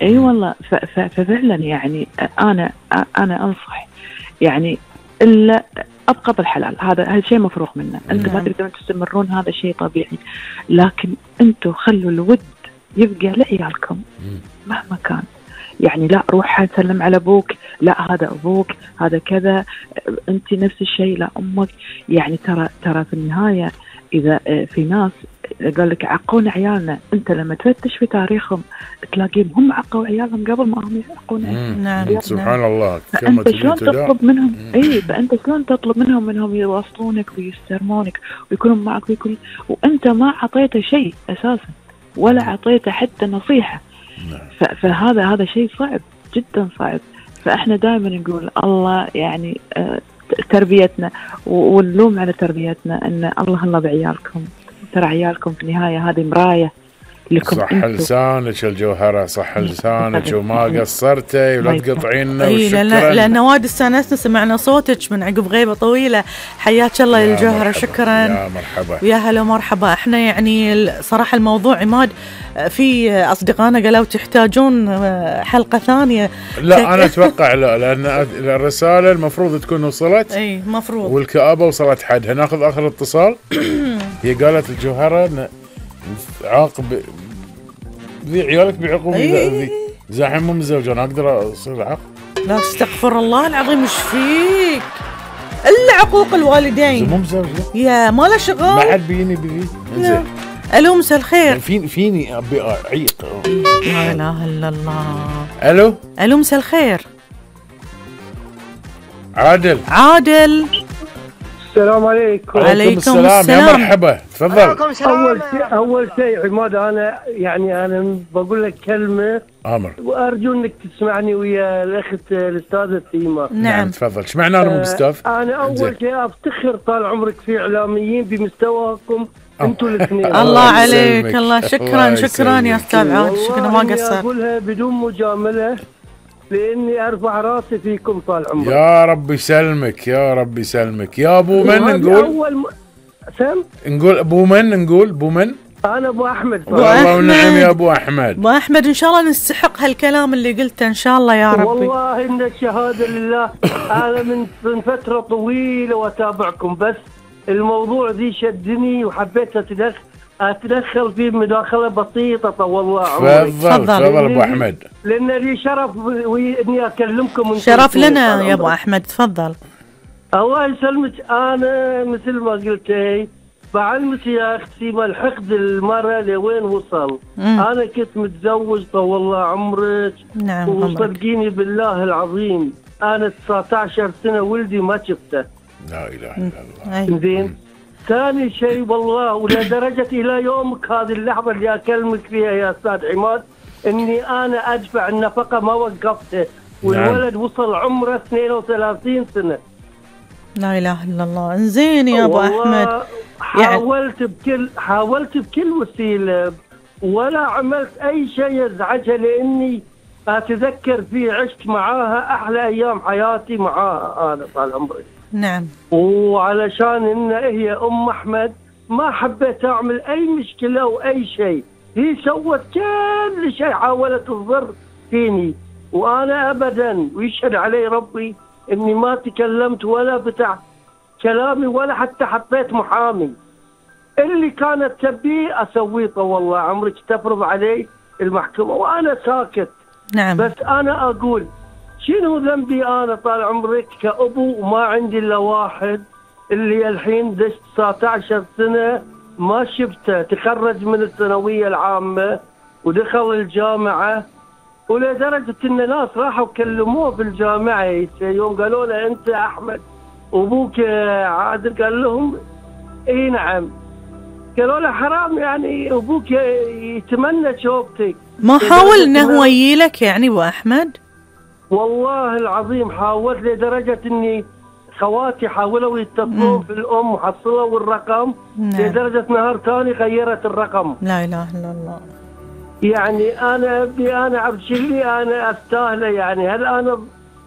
اي والله. ففعلا يعني انا انصح يعني الا ابقى بالحلال، هذا شيء مفروغ منه. انتم ما تقدرون تستمرون، هذا شيء طبيعي، لكن انتم خلوا الود يبقى لعيالكم مهما كان. يعني لا روح سلم على ابوك، لا هذا ابوك، هذا كذا، انت نفس الشيء، لا امك. يعني ترى في النهايه اذا في ناس قال لك عقونا عيالنا، انت لما تفتش في تاريخهم تلاقيهم هم عقوا عيالهم قبل ما هم يعقون عيالهم. نعم سبحان الله. فانت شلون تطلب منهم فانت شلون تطلب منهم يواصلونك ويسترمونك ويكونوا معك وانت ما اعطيته شيء اساسا ولا اعطيته حتى نصيحه. فهذا شيء صعب جدا صعب. فاحنا دائما نقول الله يعني تربيتنا ونلوم على تربيتنا ان الله بعيالكم. ترى عيالكم في النهايه هذه مرايه لكم. صح لسانك الجوهره، صح لسانك وما قصرتي ولا تقطعينا. لأن وايد استانسنا سمعنا صوتك من عقب غيبه طويله. حياك الله يا الجوهره. شكرا يا مرحبا ويا هلا ومرحبا. احنا يعني صراحه الموضوع عماد في اصدقائنا قالوا تحتاجون حلقه ثانيه. لا انا اتوقع لا، لان الرساله المفروض تكون وصلت. اي مفروض. والكآبه وصلت حدها. ناخذ اخر اتصال. هي قالت الجوهره عاقب ذي عيالك بعقوبة ذي زاحم مو متزوجون، اقدر اصير عاق؟ لا استغفر الله العظيم، ايش فيك؟ الا عقوق الوالدين. مو متزوجة يا ما له شغل، ما حد بيني بذي. زين الو مساء الخير. فيني ابي اعيق. لا اله الا الله. الو مساء الخير. عادل السلام عليكم. وعليكم السلام. يا مرحبا تفضل. اول شيء عماد، انا بقول لك كلمه وارجو انك تسمعني ويا الاخت الاستاذه سيما. نعم تفضل. ايش معنى انا مو مستاف؟ انا اول شيء افتخر طال عمرك في اعلاميين بمستواكم انتم الاثنين. الله عليك. الله شكرا يا استاذ عاد. شكرا ما قصر. اقولها بدون مجامله لاني ارفع راسي فيكم طال عمرك. يا رب يسلمك يا رب يسلمك. يا ابو من نقول؟ نقول ابو من؟ نقول ابو من؟ انا ابو احمد. والله ونعم يا ابو احمد. ابو احمد ان شاء الله نستحق هالكلام اللي قلته ان شاء الله يا ربي. والله ان الشهاده لله. انا من فتره طويله واتابعكم، بس الموضوع ذي شدني وحبيت اتدخل فيه مداخله بسيطه. طول الله عمرك. تفضل ابو احمد. لان لي شرف اني اكلمكم. شرف لنا يا ابو احمد. تفضل. الله يسلمك. انا مثل ما قلتي بعلمك يا اختي ما الحقد المرأة لوين وصل. انا كنت متزوج طول الله عمرك. نعم. وصدقيني بالله العظيم انا 19 سنه ولدي ما شفته. لا اله الا الله. زين. ثاني شيء والله ولدرجه الى يومك هذه اللحظه اللي اكلمك فيها يا استاذ عماد اني انا ادفع النفقه ما وقفته. والولد وصل عمره 32 سنه. لا اله الا الله. انزين يا ابو احمد. حاولت بكل وسيله ولا عملت اي شيء يزعجها، لاني اتذكر في عشت معاها احلى ايام حياتي معاها انا طال عمري. نعم. وعلشان ان هي ام احمد ما حبيت اعمل اي مشكله او اي شيء. هي سوت كل شيء، حاولت تضر فيني وانا ابدا ويشهد علي ربي اني ما تكلمت ولا فتحت كلامي ولا حتى حطيت محامي. اللي كانت تبيه اسويه طول الله عمرك، تفرض علي المحكمه وانا ساكت. نعم. بس انا اقول شنو ذنبي انا طال عمرك كأبو وما عندي الا واحد اللي الحين دشت 19 سنه ما شفته. تخرج من الثانويه العامه ودخل الجامعه، ولدرجه ان ناس راحوا كلموه في الجامعه يوم قالوا له انت احمد وابوك عادل، قال لهم اي نعم. قالوا له حرام يعني ابوك يتمنى شوفتك. ما حاول انه هو يجيلك يعني ابو احمد؟ والله العظيم حاولت لدرجه اني خواتي حاولوا يتصلون في الام وحصلوا الرقم. نعم. لدرجه نهار ثاني غيرت الرقم. لا اله الا الله. يعني انا عبد شلي انا استاهله. يعني هل انا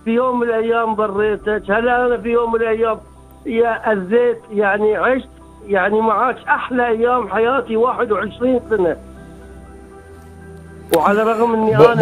في يوم من الايام ضريتك؟ هل انا في يوم من الايام يا اذيت؟ يعني عشت يعني معاك احلى ايام حياتي 21 سنه. وعلى الرغم اني ب- انا